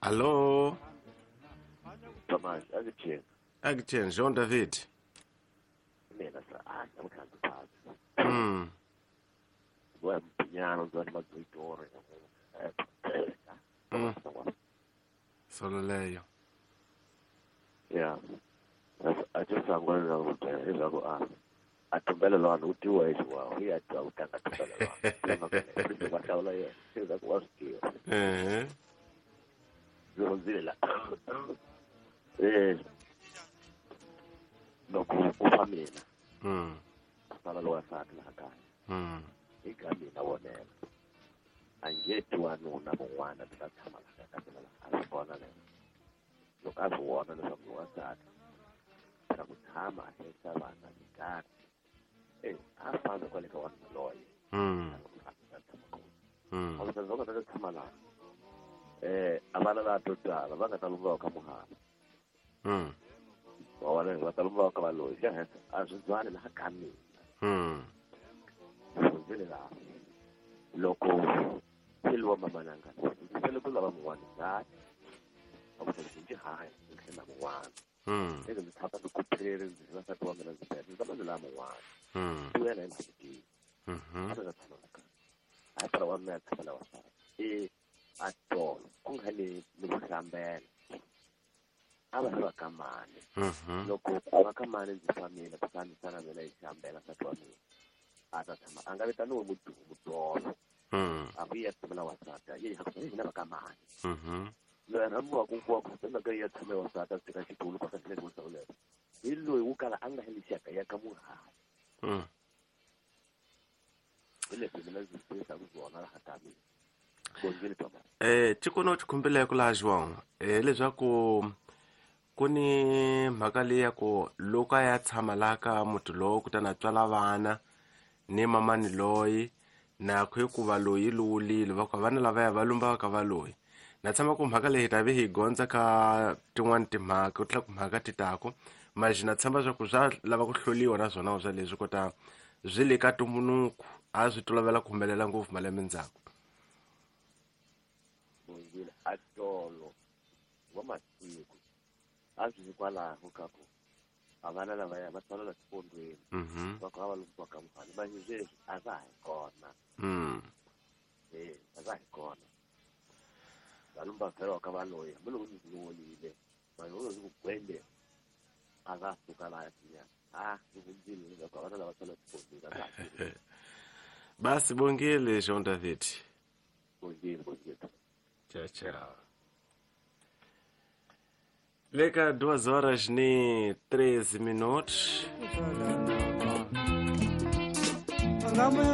Alô? Tomás, akuthini? Akuthini, João David. Mina sa ah, namhlanje phansi. Mm. Wempinyana uzwana mazoyitori. Mm. Solo leyo. Yeah. Acho sangwana ukuthi ezako a atumbelelwana utiwa exiwa uya twa ku tlanga tumbelelwana va hlawula yena leswaku wa swi tiva. Eh. Ndzi hundzile la loko ku fa mina ku sala lowa nsati laha kaya hi ka mina wonela a nge ti wanuna mun'wana ni ta tshama laha ka mina laha a swi vona leswo loko a swi vona leswaku wansati phela ku tshama a hlayisa vana hi nkarhi a fambi kwale ka wanuna loye a tshama kona a va nga ta tshama laha a vana laha to tala va nga ta lumba ka muhana wa vona va ta lumba ka valoyi xa henhla a swi byali laha ka mina hundzile laha loko seliwa mamananga ndzi sele ku lava mun'wana ngati a ku sele ndzi hanya ndzi tlhela mun'wana eke ndzi tshama ndzi kuphere ndzi na nsati wa mina ndzi bela ndzi tama ndzi lava mun'wana ti wena hi ndzi a nga tshama la kaya hayi phela wa mina tshama la wasati a tolo ku nga le ni ku hlambela a va ri va ka mani loko va ka mani ndzi famile kutani sana mina hi hlambela nsati wa mina a ta tshama a nga vitaniwi mudolo a ku ya tshamela wasati a ye hina va ka mani loyi a rhambiwaka ku wa ku ya tshame wasati a tshika xitulu ka xileni wo hlawuleka hi loyi wo kala a nga heli xaka ya ka muhali hi leswi mina ndzi swi swona laha ka mina. Tikono xikhumbeleko laha João leswaku ku ni mhaka leyi ya ku loko a ya tshama laha ka muti lowo kutani a tswala vana ni mamani loyi na ku hikuva loyi luwulile va ku vana lavaya va lumba ka valoyi na tshama ku mhaka leyi hi ta ve hi gondza ka tin'wani timhaka ku tlula ku mhaka ti taku maxi na tshemba swa ku swa lava ku hloliwa na swona swa leswi kota swi le ka tumbunuku a swi tolovela ku humelela ngopfu malembe ndzhaku. Bongile a tolo wa masiku a swi hikwalaho ka ku a vana lavaya va tswalela xifondweni va ku a va lumbiwa ka mufana manje sweswi a va ha kona a va hi kona va lumba vhela ka valoyi hambiloko ndzi luwolile vanhu vo ndzi ku gwende a va suka laha tinyana a ndzi hundzile leswaku a vana lava tswalela xifondweni a va ha. Basi bongile João David. Bongile, bongile. Tchau, tchau. Leka 2 horas ni 13 minutos.